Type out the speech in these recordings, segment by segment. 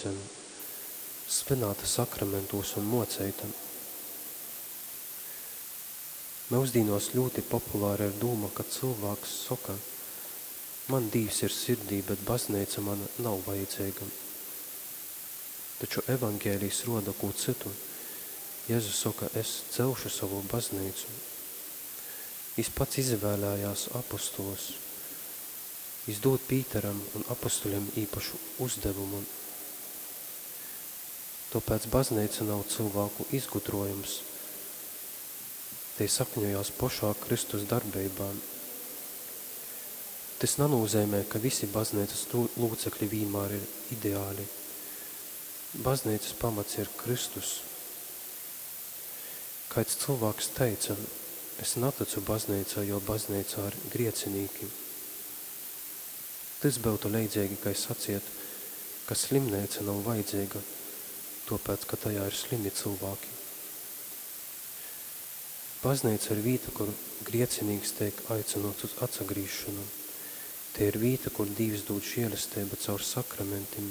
bazneica, svynāta sakramentūs un mōceita. Myusdīnōs ļūti populara ir dūma, ka cylvāks soka, Man Dīvs ir sirdī, bet bazneica man nav vajadzeiga. Taču Evangelijs rōda kū cytu. Jezus soka, Es celšu sovu bazneicu. Jis pats izavēlējās apostolus. Jis dūd Pīteram un apostoļim īpašu uzdevumu. Tōpēc bazneica nav cylvāku izgudrōjums. Tei sakņojās pošā Kristus darbeibā. Tys nanūzeimej, ka visi bazneicas lūcekļi vīnmār ir ideāli. Bazneicas pamats ir Kristus. Kaids cylvāks teica, Es natycu bazneicai, jo bazneicā ir griecinīki. Tys byutu leidzeigi kai saciet, ka slimneica nav vajadzeiga, tōpēc, ka tajā ir slimi cylvāki. Bazneica ir vīta, kur griecinīks teik aicynōts uz atsagrīzšonu. Tei ir vīta, kur Dīvs dūd žielesteibu caur sakramentim,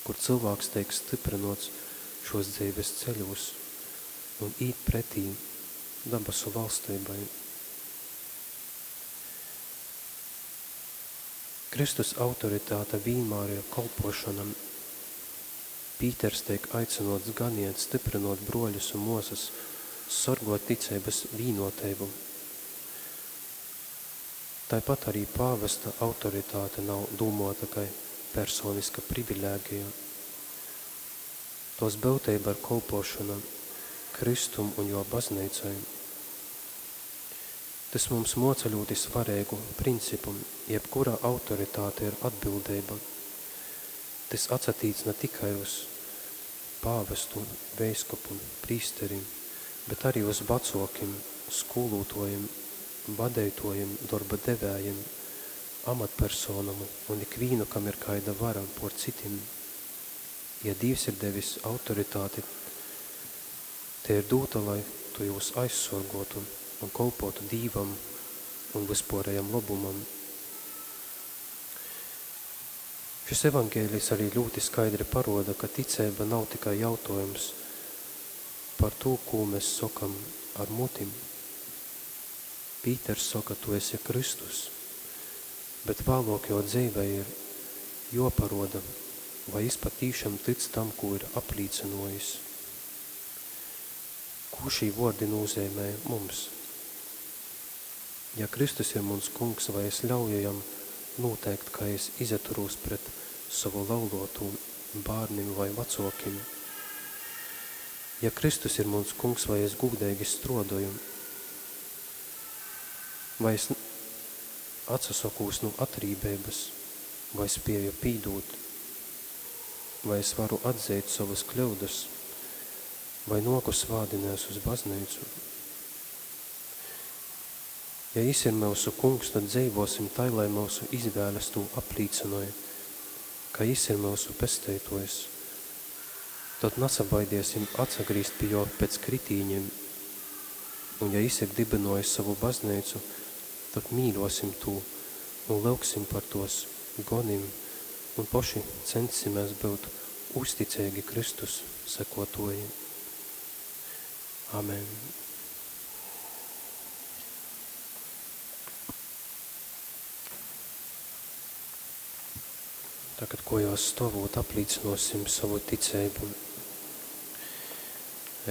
kur cylvāks teik styprynōts šōs dzeives ceļūs un īt pretī dabasu valsteibai. Kristus autoritāte vīnmār ir kolpōšona. Pīters teik aicynōts ganiet, styprynōt brōļus un mōsas, sorgōt ticeibas vīnōteibu. Taipat ari pāvesta autoritāte nav dūmōta kai personiska privilēgija. Tōs byuteiba ir kolpōšona Kristum un Jō Bazneicai. Tys mums mōca ļūti svareigu principu, jebkura autoritāte ir atbildeiba. Tys atsatīc na tikai uz pāvestu, veiskupu, prīsteri, bet ari uz vacōkim, skūlūtōjim, vadeitōjim, dorba devējim, amatpersonom un ikvīnu, kam ir kaida vara pōr citim. Ja Dīvs ir devis autoritāti, tei ir dūta, lai tu jūs aizsorgōtu un kolpōtu Dīvam un vyspōrejam lobumam. Šys Evangelijs ari ļūti skaidri parōda, ka ticeiba nav tikai jautōjums par tū, kū mes sokam ar muti. Pīters soka, Tu esi Kristus, bet vālōk jō dzeivē ir jōparōda, vai jys patīšam tyc tam, kū ir aplīcynōjis. Kū šī vōrdi nūzeimej mums? Ja Kristus ir muns Kungs, vai es ļauju Jam nūteikt, kai es izaturūs pret sovu laulōtū, bārnim vai vacōkim? Ja Kristus ir muns Kungs, vai es gūdeigi strōdoju? Vai es atsasokūs nu atrībeibas, vai spieju pīdūt? Vai es varu atzeit sovas kļyudas, vai nōku svātdinēs uz bazneicu? Ja Jis ir myusu Kungs, tad dzeivōsim tai, lai myusu izvēles tū aplīcynoj, ka Jis ir myusu Pesteitōjs. Tod nasabaidiesim atsagrīzt pi Jō pec kritīņim. Un ja Jis ir dybynōjis sovu Bazneicu, tod mīļōsim tū un lyugsim par tōs gonim un poši ceņssimēs byut uzticeigi Kristus sekōtōji. Amen. Tagad kojās stovūt aplīcynōsim sovu ticeibu.